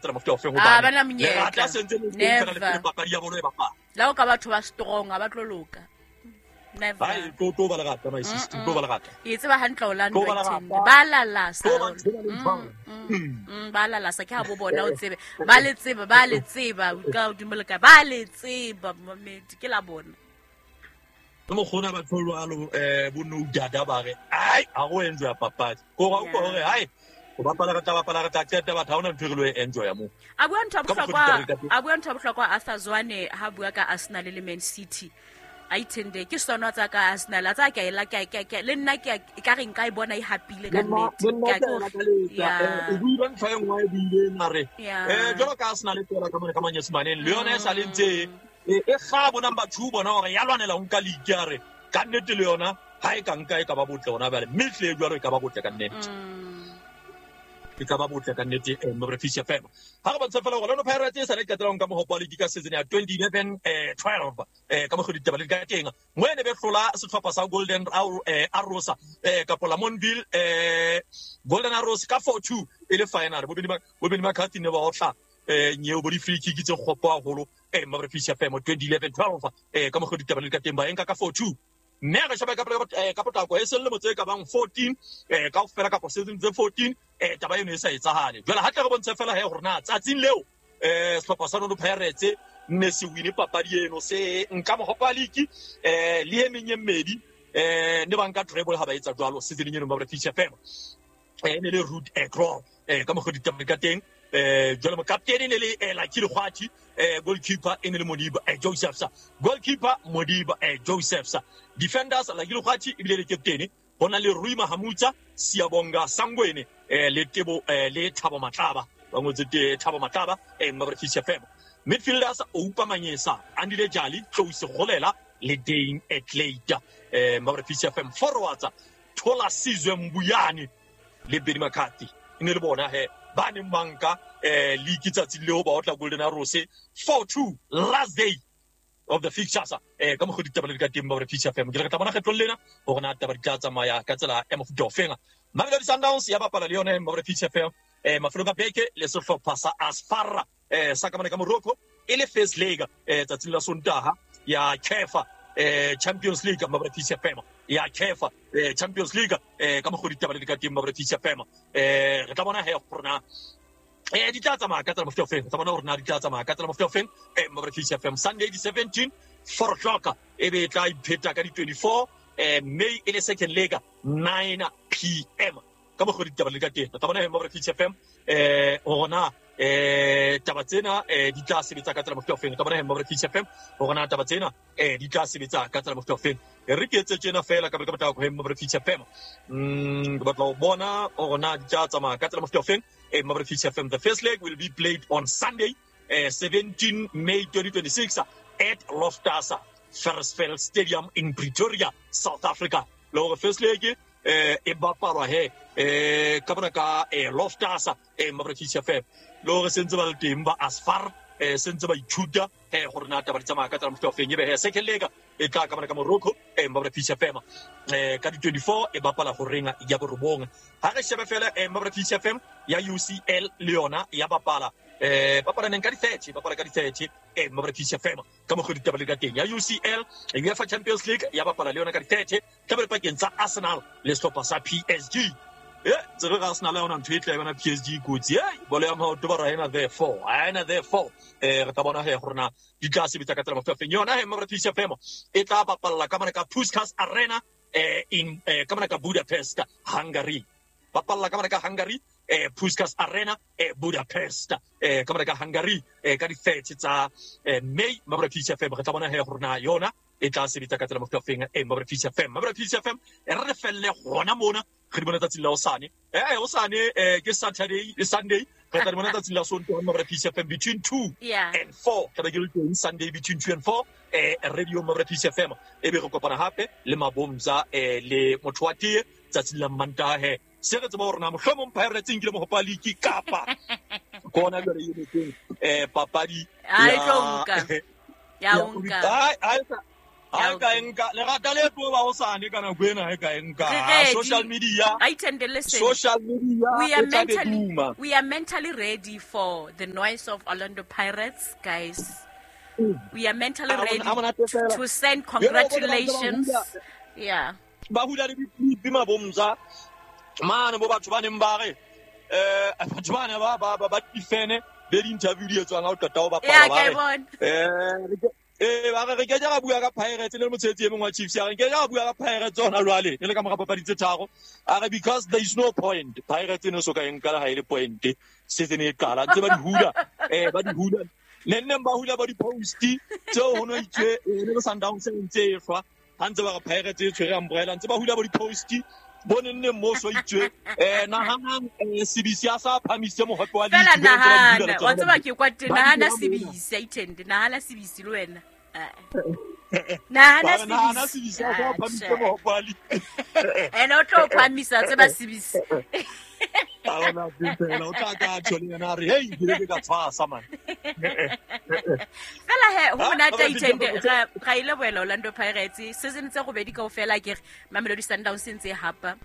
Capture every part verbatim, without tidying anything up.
tsela mofuta o feng hobane lerata sentse le fela le papadi ya bolo e bapala la o ka batho ba strong a ba tlo loka. Never. Ai tlo tlo ba lerata my sister tlo ba lerata e tseba hantle Orlando ba lalasa mm ba lalasa ke ha bo bona o tsebe ba le tseba ba le tseba ka godimo le ka ba le tseba mamedi ke la bona le mokgona ba tholwalo eh bo no dada ba re ai a go enjoy papadi go ga o gore ai o bapala re tla bapala re tla qeta batho ha ona ntho re lo enjoy mo a bua ntho bohlokwa a bua ntho bohlokwa Arthur Zwane ha bua ka Arsenal le Man City a ithende ke sona tsa ka Arsenal tsa ka ela ka ka ka le nna ke ka re nka e bona e hapile ka nnete ke go o buile ntho e nngwe e buile mare eh jalo ka Arsenal e tswela ka mone ka manyesemaneng le yona e sa le ntse e ga bona number two bona hore ya lwanela nka league a re ka nnete le yona ha e ka nka e ka ba botle hona bale mme tle jwalo e ka ba botle ka nnete e ka ba botle ka nnete Mabrefish F M ha re bontsha fela gore Orlando Pirates e sa le qetelong ka mohopo wa league ka season ya twenty eleven twelve eh ka mokgwa ditaba le ka teng mo ene be hlola sehlopha sa Golden Arrows eh ka pola Monville eh Golden Arrows ka four two e le final bo bedi bo bedi McCarthy ne ba otla eh nyeo bo di free kick tse kgopo haholo eh Mabrefish F M twenty eleven twelve eh ka mokgwa ditaba le ka teng ba enka ka four two mme re sheba ka ka potlako e selemo tse ka bang fourteen eh ka ofela ka season tse fourteen eh taba eno e sa etsahale jwale ha tle re bontshe fela he hore na tsatsing leo eh sehlopha sa Orlando Pirates ne se wine papadi eno se nka mohopo wa league eh le e meng e mmedi eh ne ba nka treble ha ba etsa jwalo season eno Mabrefish F M eh ne le Ruud Krol eh ka mokgwa ditaba ka teng eh jwale mokaptene ne le Lucky Lekgwathi eh goalkeeper e ne le Modiba eh Josephs goalkeeper Modiba eh Josephs defenders Lucky Lekgwathi ebile le captain hona le Rui Mahamutsa Siyabonga Sangwene eh le Tebo eh le Thabo Matlaba ba ngotse te Thabo Matlaba eh Mabrefish F M midfielders Oupa Manyesa Andile Jali Tlou Golela le Dane Atleta eh Mabrefish F M forwards Thola Sizwe Mbuyane le Benny McCarthy ne le bona he ba neng ba nka eh league tsatsi leo ba otla Golden Arrows four two last day of the fixtures eh ka mokgwa ditaba le ka teng ba Mabrefish F M ke re tla bona kgetlong lena hore na taba di tla tsamaya ka tsela ya mofuta ofeng Mamelodi Sundowns ya bapala le yona Mabrefish F M eh mafelong a beke le sehlopha sa Asfara eh sa ka mane ka Morocco e le first leg eh tsatsing la Sontaha ya C A F eh Champions League Mabrefish F M ya C A F eh Champions League eh ka mokgwa ditaba le ka teng Mabrefish F M eh re tla bona he hore na eh di tla tsamaya ka tsela mofuta ofeng tla bona hore na di tla tsamaya ka tsela mofuta ofeng eh Mabrefish F M Sunday the seventeen four o'clock e be tla ipheta ka di twenty-four eh May e le second leg nine p m ka mokgwa ditaba le ka teng tla bona he Mabrefish F M eh hore na eh taba tsena eh di tla sebetsa ka tsela mofuta ofeng tla bona he Mabrefish F M hore na taba tsena eh di tla sebetsa ka tsela mofuta ofeng re ke etse tjena fela ka ka batla ho Mabrefish F M mm ke batla ho bona hore na di tla tsamaya ka tsela mofuta ofeng eh Mabrefish F M the first leg will be played on Sunday eh seventeen May twenty twenty-six at Loftus Versfeld Stadium in Pretoria, South Africa. Le hore first leg eh e bapalwa he eh ka bona ka eh Loftus eh Mabrefish F M le hore sentse ba le teng ba Asfar eh sentse ba ithuta eh gore na taba di tsamaya ka tsela mofuta ofeng ebe he second leg e tla ka bona ka Morocco eh Mabrefish F M eh ka di twenty-four e bapala go renga ya borobong ha re shebe fela eh Mabrefish F M ya U C L le yona ya bapala eh bapala neng ka di thirty bapala ka di thirty eh Mabrefish F M ka mokgwa ditaba le ka teng ya U C L UEFA Champions League ya bapala le yona ka di thirty tla be pakeng tsa Arsenal le sehlopha sa P S G eh tsere ga Arsenal yona ntho e tla yona P S G kotsi eh bolo ya maoto ba ra ena therefore ena therefore eh re tla bona he gore na di tla sebetsa ka tsela mofuta ofeng yona he Mabrefish F M e tla bapalla ka mane ka Puskas Arena eh in eh ka mane ka Budapest Hungary bapalla ka mane ka Hungary eh Puskas Arena eh Budapest eh ka mane ka Hungary eh ka di thirty tsa May Mabrefish F M re tla bona he gore na yona e tla sebetsa ka tsela mofuta ofeng eh Mabrefish F M Mabrefish F M e re felle gona mona re di bona tsatsing la hosane eh hosane eh ke Saturday le Sunday re tla di bona tsatsing la Sontaha Mabrefish F M between two yeah. and four tla be ke le teng Sunday between two and four eh radio Mabrefish F M e be re kopana hape le Mabomza eh le motho wa tee tsatsing la Mantaha he se re tseba hore na mohlomong Pirates nkile mohopo wa league kapa kona jwale e teng eh papadi ya e tlo nka ya nka ai ai Ha ka enka le rata le tlo ba o sane kana kwena ha ka enka social media. I tend to listen. Social media we are mentally we are mentally ready for the noise of Orlando Pirates, guys. We are mentally ready to send congratulations. Yeah. Ba hula le dipipi mabomza. Mane bo batho ba neng ba re eh batho ba ne ba ba ba difene be di interview di etswang ha o qeta ho bapala ba re eh eh ba re ke ja bua ka Pirates le motshetsi e mongwe wa Chiefs ya re ke ja bua ka Pirates ona jwale e le ka mora papadi tse tharo a re because there is no point Pirates no so ka enka la ha ile point season e qala ntse ba di hula eh ba di hula le nne ba hula ba di post tseo ho no itswe le Sundowns se ntse e fa ha ntse ba re Pirates e tshwere umbrella ntse ba hula ba di post bone nne mo so itswe eh nahanang C B C a sa phamise mohope wa league nahana wa tseba ke kwa teng nahana C B C itende nahana C B C le wena nahana C B C a sa phamise mohope wa league ene o tlo phamisa tseba C B C a ona tsela o tla ka tshole yena re hey ke ka tshwasa man fela he ho monate itende ga ile boela Orlando Pirates season tse gobedi kaofela ke re Mamelodi Sundowns ntse hapa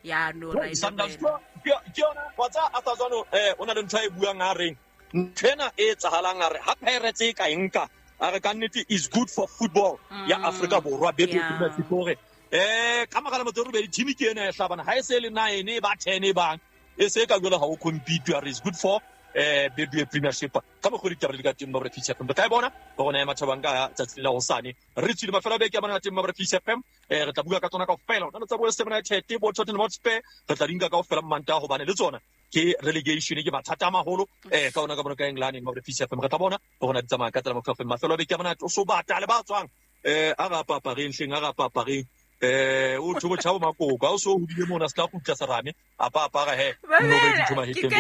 ya no ra ile Sundowns ke yona wa tsa atazano eh ona le ntho e buang a reng nthena e tsahalang a re ha Pirates e ka enka a re ka nnete is good for football ya Africa Borwa be be eh ka magala motho re be team ke ena e hlabana ha e se le nine ba ten e bang e se ka jwale ha o compete are is good for eh B B A Premiership ka mo go ditaba le ka teng ba re F M ka e bona ba gona ema thabang ka tsatsi la hosane re tswile mafelo beke ya bona teng ba re F M eh re tla bua ka tsona kaofela hona tsa bo West Ham United bo Tottenham Hotspur re tla dinka kaofela mmanta hobane le tsona ke relegation ke mathata a maholo eh ka ona ka bona ka England ba re F M re tla bona ba gona di tsamaya ka tsela mo F M mafelo beke ya bona o so bata le ba tswang eh a ga papareng hleng a ga papareng eh o thobo tshabo makoka o so hodile mona se tla khutla serame a pa apara he no be dintho maheteng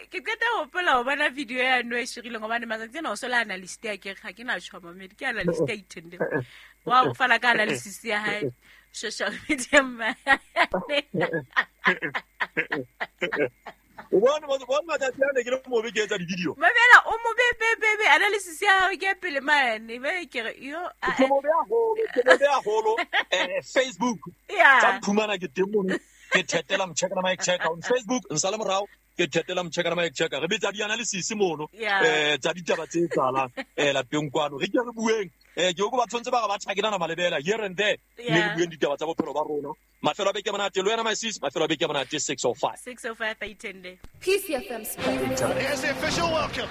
ke qeta ho hopola ho bona video ya no e shirileng hobane matsatsi ana o sola analyst ya ke ga ke na tshoma mme ke analyst ya ithende wa o fana ka analysis ya hae social media ma o bona mo bona matsatsi ana ke le mo be ke etsa di-video mamela o mo be be be be analysis ya hao ke pele mane be ke re yo ke mo be haholo ke mo be haholo eh Facebook yeah tsa phumana ke teng mono ke thetela mcheka na mic check on Facebook nsala morao ke thetela mcheka na mic check re betsa di-analysis mono eh tsa ditaba tse tsalang eh lapeng kwano re ke re bueng eh ke go ba tshwantse ba ga ba tshakela na malebela here and there le re bueng ditaba tsa bophelo ba rona mafelo a beke monate le wena my sis mafelo a beke monate six oh five six oh five itende P C F M Sports. Here's the official welcome.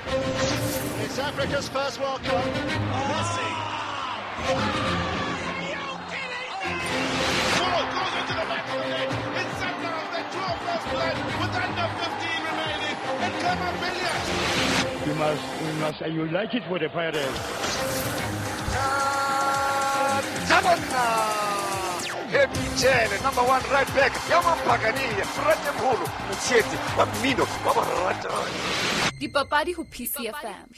It's Africa's first World Cup. Messi. Ball goes into the back of the net. It's Sundowns that draw first blood with under fifteen remaining. And Khama Billiat. We must, we must, and you like it for the Pirates. Happy Jele, number one right back. Yaman Pagani, Frate Mholo, Mtshetsi, wa mmino, wa borata. Dipapadi ho P C F M.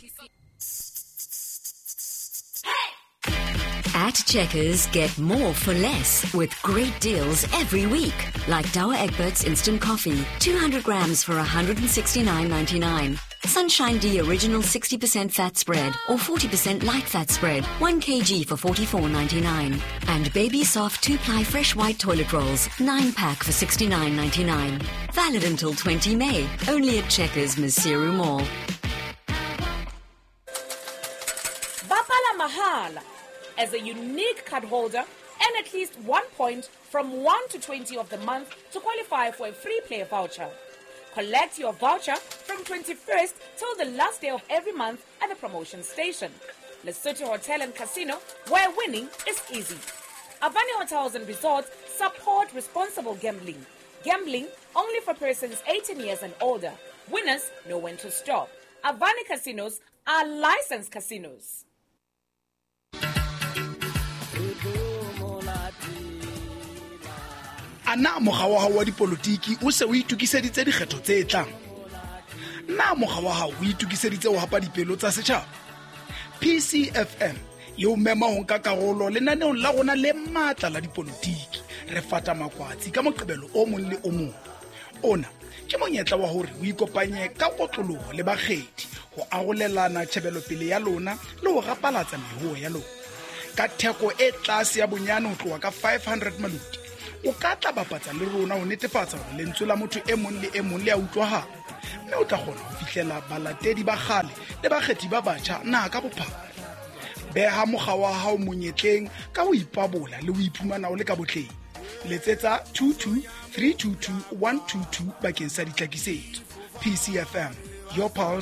At Checkers, get more for less with great deals every week. Like Douwe Egberts Instant Coffee, two hundred grams for one hundred sixty-nine ninety-nine. Sunshine D Original sixty percent fat spread or forty percent light fat spread, one kilogram for forty-four ninety-nine. And Baby Soft two-ply fresh white toilet rolls, nine pack for sixty-nine ninety-nine. Valid until twentieth May, only at Checkers Maseru Mall. Bapala mahala. As a unique card holder, and at least one point from one to twenty of the month to qualify for a free play voucher. Collect your voucher from twenty-first till the last day of every month at the promotion station. Lesotho Hotel and Casino, where winning is easy. Avani Hotels and Resorts support responsible gambling. Gambling only for persons eighteen years and older. Winners know when to stop. Avani Casinos are licensed casinos. Ana mokga wa hao wa dipolotiki o se o itokiseditse dikgetho tse tlang? Na mokga wa hao o itokiseditse ho hapa dipelo tsa setjhaba? P C F M e o mema ho nka karolo lenaneong la rona le matla la dipolotiki. Re fata makwatsi ka moqebelo o mong le o mong. Ona ke monyetla wa hore o ikopanye ka kotloloho le bakgethi ho arolelana tjhebelopele ya lona le ho rapalatsa mehoo ya lona. Ka theko e tlase ya bonyane ho tloha ka five hundred maluti, o ka tla bapatsa le rona ho netefatsa hore lentswe la motho e mong le e mong le a utlwahala, mme o tla kgona ho fihlela balatedi ba kgale le bakgethi ba batjha naha ka bophara. Beha mokga wa hao monyetleng ka ho ipabola le ho iphumana o le ka botleng. Letsetsa two two three two two one two two bakeng sa ditlhakisetso. P C F M, your pulse.